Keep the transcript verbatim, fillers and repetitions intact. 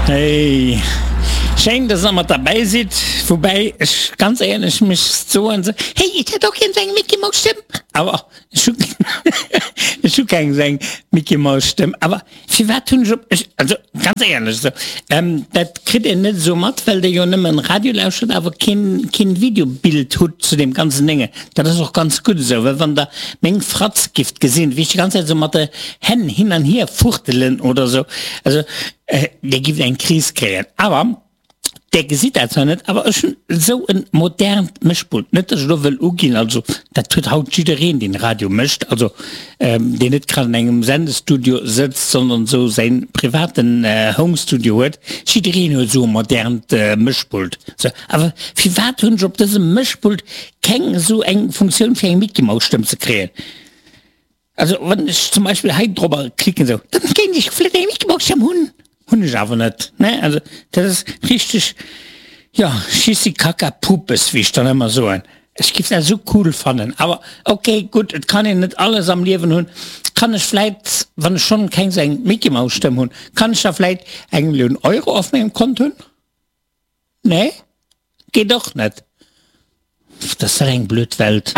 Hey, schéin, dass der mat derbäi sidd. Woubäi ech ganz éierlech mech soen se, hey, ech hätt och gär esou eng Mickey Mouse Stëmm. Awer ech hu ech hu keng esou eng Mickey Mouse Stëmm. Awer firwat hunn ech op ech, also ganz éierlech esou, ähm, dat kritt een net esou mat, well der jo nëmmen Radio lauschtert, awer keen keen Videobild hutt zu deem ganzen Dénge. Dat ass och ganz gutt esou, well wann der meng Fratz gifft gesinn, wéi ech déi ganz Zäit esou mat de Hänn hin an hier fuchtelen oder esou, also Dir gift eng Kris kréien. Awer Där gesitt dat zwar net, awer ech hunn esou e modernt Mëschpult. Net, datt ech elo wëll uginn, also dat huet haut jiddereen, deen Radio mécht, also deen net grad an engem Sendestudio sëtzt, sondern esou säi privaten Homestudio huet. Jiddereen huet esou e modernt Mëschpult. Sou, awer firwat hunn ech op dësem Mëschpult keng esou eng Funktioun fir eng Mickey-Maus-Stëmm ze kréien? Also wann ech zum Beispill hei drobber klicken sou, dann kéint ech vläit eng Mickey-Maus-Stëmm hunn. Hunn ech awer net, ne? Also dat ass richteg, jo, Schissi-Kacka-Pupes, wéi ech dann ëmmer soen. Ech giff dat esou cool fannen, awer ok, gutt, et kann een net alles am Liewen hunn. Kann ech vläit, wann ech schonn keng sou eng Mickey-Maus-Stëmm hunn, kann ech da vläit eng Millioun Euro auf mengem Kont hunn? Nee, geet och net. Dat ass eng blöd Welt.